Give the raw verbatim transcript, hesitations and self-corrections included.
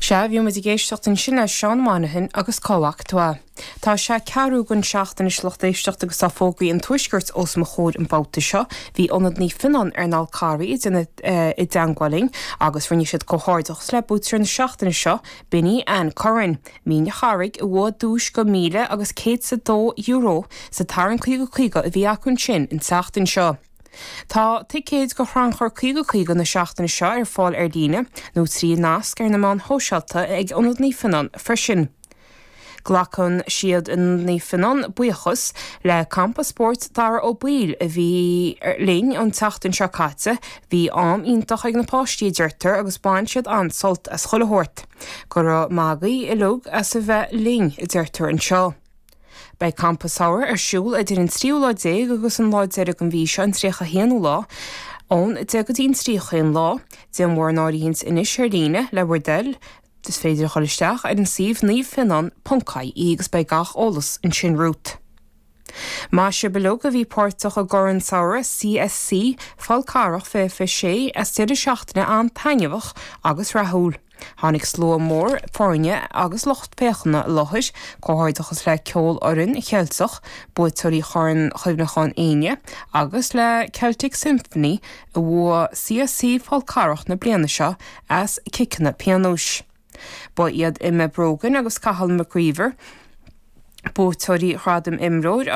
Sea, bhí muid ag éisteacht ansin le Seán Monaghan agus Cá bhfaca tú é. Tá sé ceathrú don seacht anois lucht éisteachta agus tá fógraí an tuaiscirt os mo chomhair an babhta seo, bhí Ionad Naomh Fionnán ar an Fhál Carraigh i dteagmháil linn agus rinne siad comhghairdeachas le buaiteoir na seachtaine seo b'in í Ann Curran. Mín an Charraig a bhuaigh duais de míle agus céad is a dó euro sa tarraingt caoga caoga a bhí acu ansin an tseachtain seo. Tá ticéid do chrannchur caoga caoga na seachtaine seo ar fáil ar líne nó trí nasc ar na meáin shóisialta ag Ionad Naomh Fionnán freisin. Glacann siad in Naomh Fionnán buíochas le campa spóirt Dara Ó Baoill a bhí linn an tseachtain seo caite, bhí am iontach ag na páistí deirtear agus bhain siad an-sult as chuile shórt. Go raibh maith agaibh uilig as a bheith linn a deirtear anseo. Beidh campa samhraidh ar siúl idir an tríú lá déag agus an lá deiridh den mhí seo an tríocha haonú lá, ón deich go dtí an trí chaon lá, déan bhur n-áirithint anois ar líne le bhur dtoil, is féidir a chur isteach ar an suíomh naomhfhionnán ponc ie agus beidh gach eolas ansin romhat. Maith sibh uilig a bhí páirteach i gCorn Samhraidh CSC Fál Carrach fiche fiche sé as deireadh seachtaine an-taitneamhach agus rathúil. Tháinig slua mór foirne agus lucht féachana i láthair, comhghairdeachas le Ceolfhoireann Cheilteach, buaiteoirí Chorn Chuimhneacháin Éinne, agus le Celtic Symphony a bhuaigh CSC Fál Carrach na bliana seo as ciceanna pionóis. Ba iad Emma Brogan agus Cathal McGreever, buaiteoirí Ghradam Imreoir